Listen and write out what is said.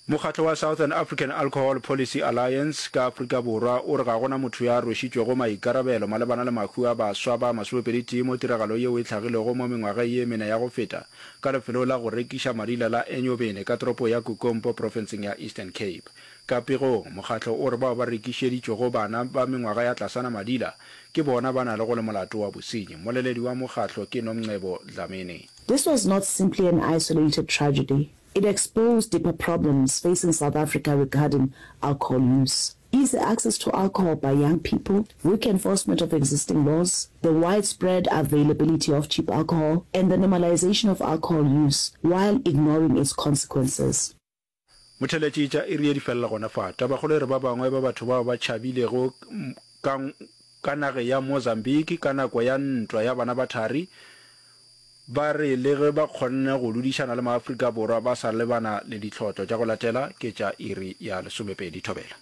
Mokgatlo wa Southern African Alcohol Policy Alliance ka Afrika Borwa o re ga gona motho yo a rwešitšwego maikarabelo malebana le mahu a baswa ba masomepeditee mo tiragalo yeo e hlagilego mo mengwageng ye mene ya go feta ka lefelong la go rekiša madila la Enyobeni ka toropo ya Kukompo profenseng ya Eastern Cape. Ka pegong, mokgatlo o re bao ba rekišeditšwego bana ba mengwaga ya tlasana madila ke bona ba na le go le molato wa bosenyi. Mmoleledi wa mokgatlo ke Nomcebo Dlamini. This was not simply an isolated tragedy. It exposed deeper problems facing South Africa regarding alcohol use. Easy access to alcohol by young people, weak enforcement of existing laws, the widespread availability of cheap alcohol, and the normalization of alcohol use while ignoring its consequences. Motheletši tša iri ye di felela gona fa. Tabakgolo e re ba bangwe ba batho bao ba tšhabilego ka ka nageng ya Mozambique ka nako ya ntwa ya bana ba thari ba re le ge ba kgonne go dudišana le maAfrika Borwa ba sa lebana le ditlhotlo. Tša go latela ke tša iri ya lesomepedi. Thobela.